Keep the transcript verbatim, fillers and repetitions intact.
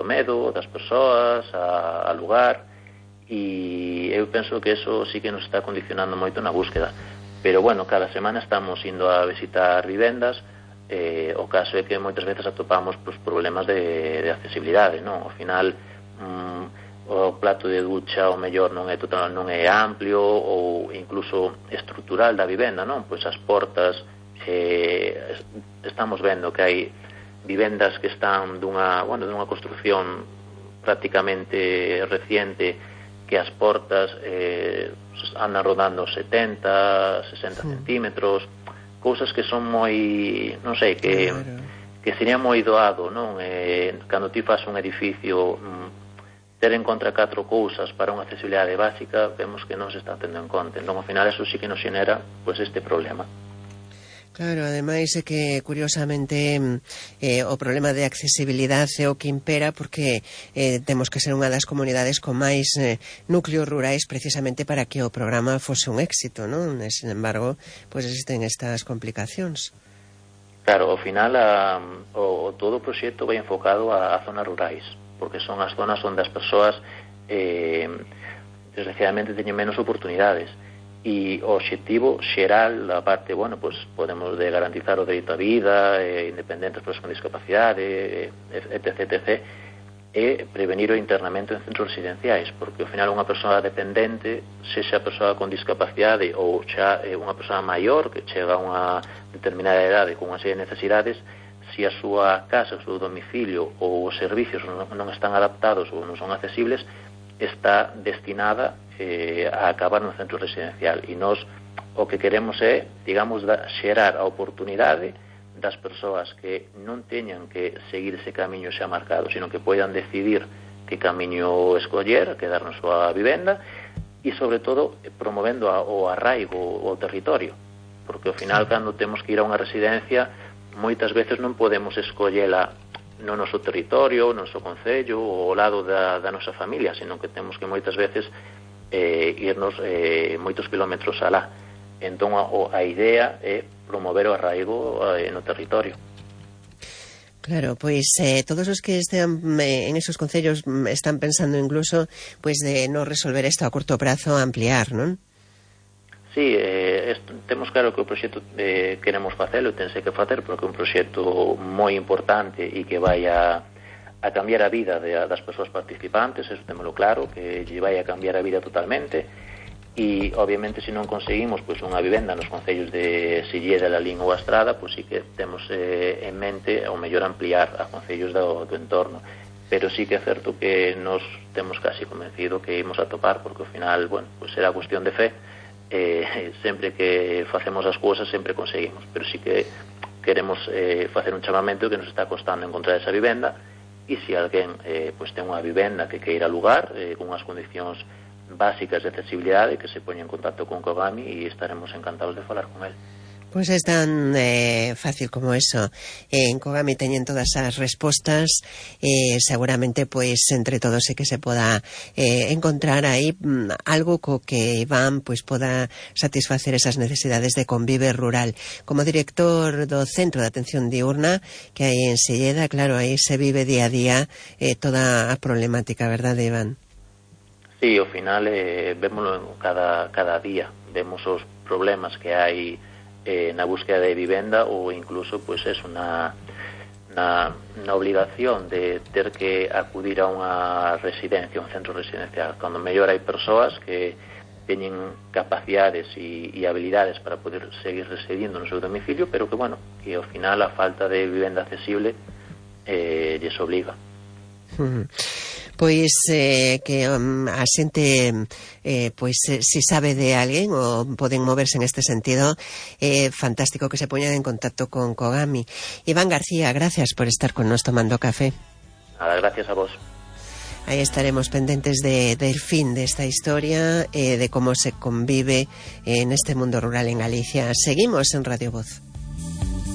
medo das persoas, a, a lugar, e eu penso que eso sí que nos está condicionando moito na búsqueda. Pero bueno, cada semana estamos indo a visitar vivendas. Eh, o caso é que moitas veces atopamos pues, problemas de, de accesibilidade, non? Ao final mm, o plato de ducha o mellor non é total, non é amplio ou incluso estrutural da vivenda, non? Pois as portas, eh, estamos vendo que hai vivendas que están dunha, bueno, dunha construcción prácticamente reciente, que as portas eh, andan rodando setenta, sesenta sí. centímetros, cousas que son moi, non sei, que claro. que sería moi doado, non? Eh, cando ti faz un edificio, mm, ter en contra catro cousas para unha accesibilidade básica, vemos que non se está tendo en conta. Entón, ao final, eso sí que nos xenera pues, este problema. Claro, ademais é que, curiosamente, eh, o problema de accesibilidade é o que impera porque eh, temos que ser unha das comunidades con máis eh, núcleos rurais precisamente para que o programa fose un éxito, non? E, sin embargo, pois pues existen estas complicacións. Claro, ao final a, o, todo o proxecto vai enfocado a, a zonas rurais, porque son as zonas onde as persoas eh, desgraciadamente teñen menos oportunidades. E o obxectivo xeral, a parte, bueno, pues podemos de garantizar o dereito á vida, eh, independentes persoas con discapacidade, eh, etc, etc, e prevenir o internamento en centros residenciais, porque ao final unha persoa dependente, sexa persoa con discapacidade ou xa eh, unha persoa maior que chega a unha determinada idade con unha serie de necesidades, se a súa casa, o seu domicilio ou os servicios non, non están adaptados ou non son accesibles, está destinada eh, a acabar no centro residencial. E nós o que queremos é, digamos, da, xerar a oportunidade das persoas que non teñan que seguir ese camiño xa marcado, sino que poidan decidir que camiño escoller, quedar na súa vivenda, e sobre todo promovendo a, o arraigo ao territorio, porque ao final cando temos que ir a unha residencia moitas veces non podemos escollela no noso territorio, no noso concello ou ao lado da, da nosa familia, sino que temos que moitas veces eh, irnos eh, moitos kilómetros alá. Entón a, a idea é promover o arraigo eh, no territorio. Claro, pois eh, todos os que estén eh, en esos concellos están pensando incluso pois de non resolver isto a curto prazo, ampliar, non? Sí, eh, esto, temos claro que o proxecto eh, queremos facelo, tense que facer porque é un proxecto moi importante e que vai a, a cambiar a vida de, das persoas participantes, eso témolo claro, que lle vai a cambiar a vida totalmente. E obviamente se non conseguimos pois unha vivenda nos concellos de Silleda, Lalín ou Astrada, pois sí que temos eh, en mente ao mellor ampliar a concellos do, do entorno, pero sí que é certo que nos temos casi convencido que imos a topar, porque ao final, bueno, pois será cuestión de fe. Eh, sempre que facemos as cousas sempre conseguimos, pero sí que queremos eh, facer un chamamento que nos está costando encontrar esa vivenda, e se alguén eh, pues, ten unha vivenda que queira alugar eh, con unhas condicións básicas de accesibilidade, que se poña en contacto con Kogami e estaremos encantados de falar con él. Pois é tan eh, fácil como eso. Eh, en Kogami teñen todas as respostas, eh, seguramente pois entre todos é que se poda eh, encontrar aí mm, algo co que Iván pois poda satisfacer esas necesidades de convive rural. Como director do Centro de Atención Diurna que hai en Silleda, claro, aí se vive día a día eh, toda a problemática, verdade, Iván? Sí, ao final eh, vémoslo cada, cada día, vemos os problemas que hai Eh, na búsqueda de vivenda ou incluso pues es una, una, una obligación de ter que acudir a unha residencia, un centro residencial, cando mellor hai persoas que teñen capacidades e, e habilidades para poder seguir residindo no seu domicilio, pero que, bueno, que ao final a falta de vivenda accesible eh, lles obliga. Uh-huh. Pois eh, que um, a xente eh, pois eh, si sabe de alguén ou poden moverse en este sentido, é eh, fantástico que se poñan en contacto con Kogami. Iván García, gracias por estar con nos tomando café. Nada, gracias a vos. Aí estaremos pendentes de, del fin de esta historia, eh, de cómo se convive en este mundo rural en Galicia. Seguimos en Radio Voz.